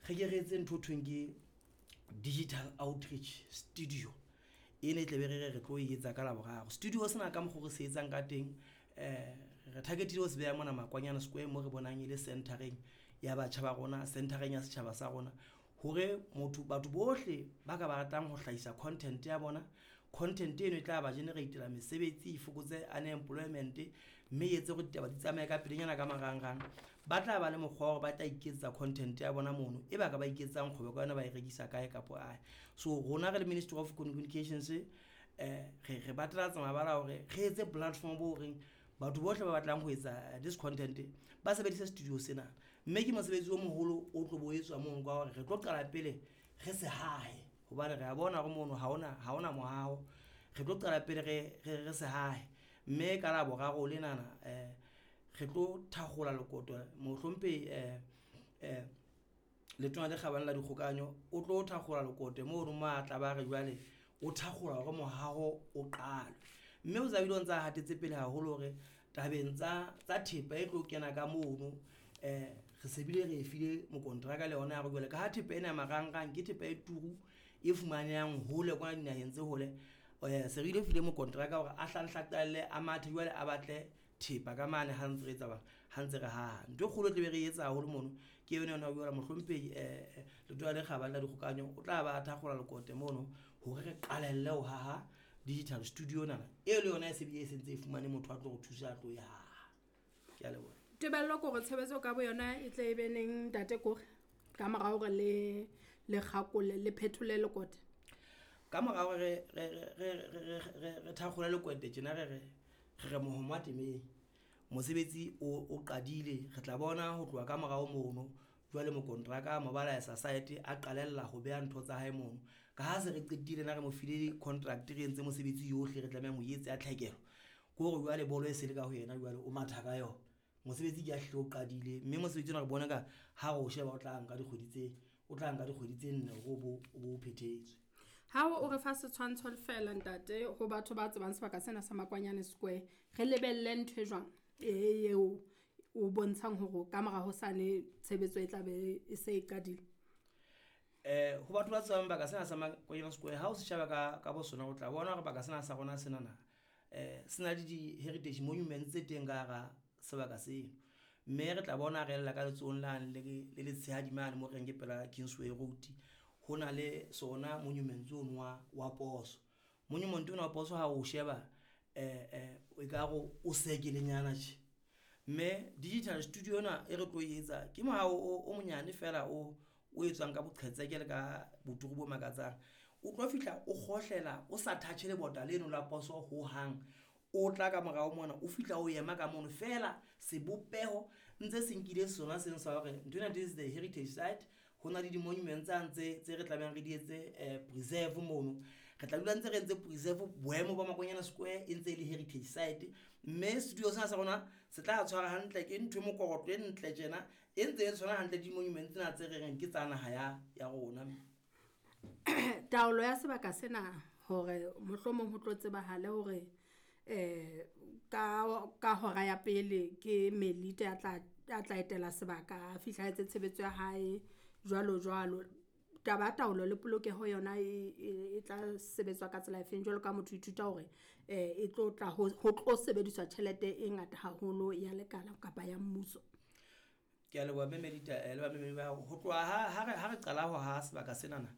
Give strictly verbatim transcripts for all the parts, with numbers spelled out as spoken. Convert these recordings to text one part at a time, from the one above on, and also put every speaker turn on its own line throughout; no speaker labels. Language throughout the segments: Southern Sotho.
Square re ke re etse ntho ho thweng ke digital outreach studio. E ne e tlabe re re re tlo e etsa ka Laboraro. Studio sena ka mokgo re se etsang ka teng, re target-ile ho se beha mona Makwanyane Square mo re bonang e le centre-reng ya batjha ba rona, centre-reng ya setjhaba sa rona hore motho, batho bohle ba ka ba ratang ho hlahisa content ya bona, content eno e tla ba generate-la mesebetsi e fokotse unemployment, mme e etse hore ditaba di tsamaye ka pelenyana ka marangrang. Ba tla ba le mokgwa wa hore ba tla iketsetsa content ya bona mono, e ba ka ba iketsetsang kgwebo ka yona, ba e rekisa kae kapa kae. So rona re le Ministry of Communications re re batalatsa mabala a hore re etse platform bo reng batho bohle ba batlang ho etsa this content ba sebedise studio sena, mme ke mosebetsi o moholo o tlo bo etswa mono ka hore re tlo qala pele re se hahe hobane re a bona hore mono ha hona, ha hona moaho. Re tlo qala pele re, re, re se hahe, mme ka Laboraro lenana re tlo thakgola lekoto mohlomphehi Letona le Kgabane la Dikgokahanyo o tlo thakgola lekote mono mo a tla ba re jwale o thakgola hore mohaho o qalwe, mme o tla bile o ntsa hatetse pele haholo hore tabeng tsa, tsa thepa e tlo kena ka mono re se bile re e file mokonteraka le yona ya hore jwale ka ha thepa ena ya marangrang ke thepa e turu e fumanehang hole kwana dinaheng tse hole, se re ile file mokonteraka hore a hlanhle qalelle a mathe jwale a batle thepa ka mane ha ntse re etsa ha ntse re haha. Ntho e kgolo e tla be re etsa haholo mono ke yona ena ya mohlomphehi Letona le Kgabane la Dikgokahanyo o tla ba thakgola lekote mono hore re qalelle ho haha digital studio ena e le yona e se bile e sentse e fumane motho a tlo re thusa a tlo e haha. Ke a leboha.
Tebello ke hore tshebetso ka bo yona e tle e be neng ntate Kore ka mora hore le, le kgakole, le phethole lekote?
Ka mora hore re, re, re, re, re, re, re thakgole lekote tjena re re, re re mohoma temeng. Mosebetsi o, o qadile, re tla bona ho tloha ka morao mono jwale mokonteraka mobilizer site a qalella ho beha ntho tsa hae mono. Ka ha se re qetile na re mo file contract re entse mosebetsi yohle re tlamehang ho etsa ya tlhekelo, ke hore jwale bolo e se le ka ho yena jwale o matha ka yona. Mosebetsi ke a hlile o qadile, mme mosebetsi ona re bona ka ha re o sheba o tla nka dikgwedi tse, o tla nka dikgwedi tse nne hore o bo, o bo phethetswe.
Ha o re fa setshwantsho fela ntate ho batho ba tsebang sebaka sena sa Makwanyane Square, re lebelle ntho e jwang e eo o bontshang hore ka mora hosane tshebetso e tla be e se e qadile?
Eh, ho batho ba tsebang baka sena sa Makwanyane Square, ha o se sheba ka, ka bo sona o tla bona hore baka sena sa rona senana, eh, se na le di-heritage monuments tse teng ka hara sebaka seno, mme re tla bona re ella ka letsohong lane le, le letshehadi mane mo reng ke pela Kingsway Road, ho na le sona monument ono wa, wa poso. Monument ona wa poso ha o sheba, eh, eh, ekare o sekelenyana tje, mme digital studio ena e re tlo e etsa ke moaho o, o monyane fela o, o etswang ka boqhetseke le ka boturu bo makatsang. O tlo fihla o kgohlela o sa touch lebota leno la poso ho hang, o tla ka morao mona o fihla o ema ka mono fela sebopeho ntse se nkile sona seno sa hore nthwena this is the heritage site. Ho na le di-monuments tsane tse, tse re tlamehang re di etse, eh, preserve mono. Re tla dula ntse re entse preserve boemo ba Makwanyane Square e ntse e le heritage site, mme studio sena sa rona se tla tshwara hantle ke ntho e mokorotlo e ntle tjena e ntse e tshwana hantle di-monuments tsena tse re reng ke tsa naha ya, ya rona.
Taolo ya sebaka sena hore mohlomong ho tlo tsebahale hore, eh, ka, ka hora ya pele ke Melita ya tla, ya tla etela sebaka, a fihla a etse tshebetso ya hae jwalo jwalo. Taba ya taolo le polokeho yona e, e, e tla sebetswa ka tsela efeng jwalo ka motho ithuta hore, eh, e tlo tla ho, ho tlo sebediswa tjhelete e ngata haholo ya lekala kapa ya mmuso?
Ke a leboha Mme Melita, eh, le bamamedi ba hao. Ho tloha ha, ha re, ha re qala ho haha sebaka senana,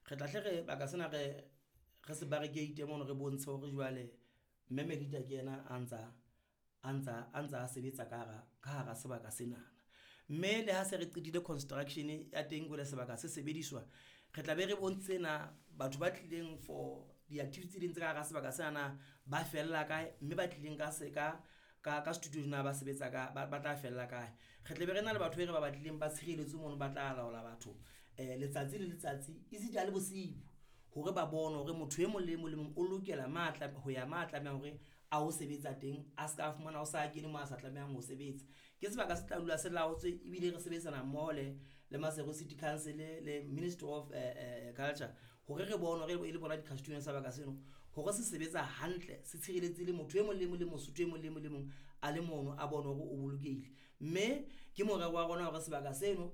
re tla hle re baka sena re, re se barricade mono re bontshe hore jwale Mme Melita ke yena a ntsa, a ntsa, a ntsa sebetsa ka hara, ka hara sebaka senana. Mme le ha se re qetile construction ya teng jwale sebaka se sebediswa, re tla be re bontshitse na batho ba tlileng for di-activity tse ding tse ka hara sebaka sena ba fella kae, mme ba tlileng ka se ka, ka, ka studio na ba sebetsa ka, ba, ba tla fella kae. Re tla be re na le batho e re ba batlileng ba tshireletso mono ba tla laola batho, eh, letsatsi le letsatsi esita le bosiu, hore ba bone hore motho e mong le mong le mong o lokela matla ho ya ma tlamehang hore a ho sebetsa teng, a ska fumana o sa kene mo a sa tlamehang ho sebetsa. Ke sebaka se tla dula se laotswe ebile re sebetsana mmoho le, le Maseru City Council le Ministry of, eh, eh, Culture hore re bone hore e le bona di-custodian tsa sebaka seno hore se sebetsa hantle, se tshireletse le motho e mong le mong le Mosotho e mong le mong le mong a le mono a bone hore o bolokehile. Mme ke morero wa rona hore sebaka seno